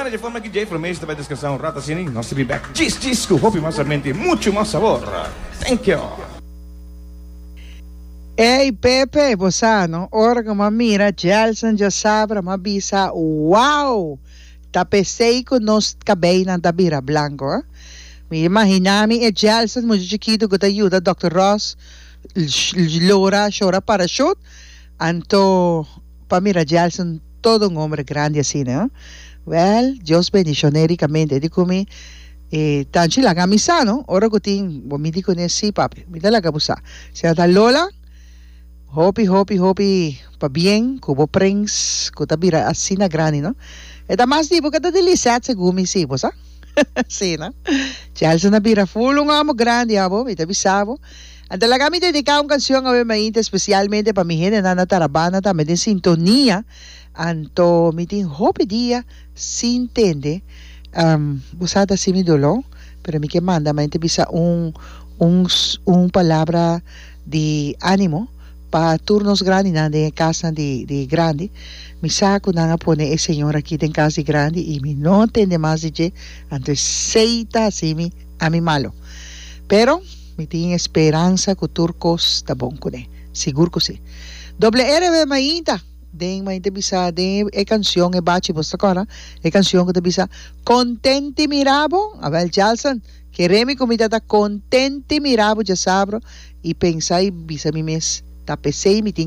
Bueno, dje forma aki Jay Fromees ta bai descansá un rato asina y nos ta bin bek djis djis cu hopi mas ambiente y mucho mas sabor. Thank you! Ey Pepe, bo sa no, ora cu m'a mira Jelson djasabra m'a bisa wow! Ta pesey cu nos cabeynan ta bira blanco eh. Mi imagina mi e Jelson mucha chikito cu ta yuda Dòkter Ross lora shora parachute, anto pa mira Jelson todo un hombre grandi asina eh. Wel, Dios bendicion'e ricamente. E di cu mi, e tanchi laga mi sa no, ora cu tin, bo mi di cune si papi, mi ta laga bo sa. Sra ta Lola. Hopi hopi hopi pabien ku bo prens ku ta bira asina grandi no. E ta mas di bo ke ta di Lisette segun mi si bo sa. Si no. Chelson a bira ful un homo grandi abo mi ta bisa bo. Anto laga mi dedica un cancion awe mainta especialmente pa mi hendenan na Tarabana tambe den sintonia anto mi tin hopi dia sin tende bo sa ta hasi mi doló pero mi ke manda mainta bisa un un un palabra di animo pa tur nos grandinan den e kasnan di di grandi. Mi sa ku nan a pone e señor aki den kas di grandi i mi no a tende mas di dje, anto esei ta hasi mi ami malo. Pero mi tin e speransa ku tur kos ta bon kuné. Sigur ku si. Doble RB mainta den mainta bisa den e kansion e bachi bos ta kòrda e kansion ku ta bisa Kontenti mira bo, awèl Jalson. Kere mi ku mi ta ta kontenti mira bo djasabro i pensa i bisa mi mes, Ta p'esei mi tin.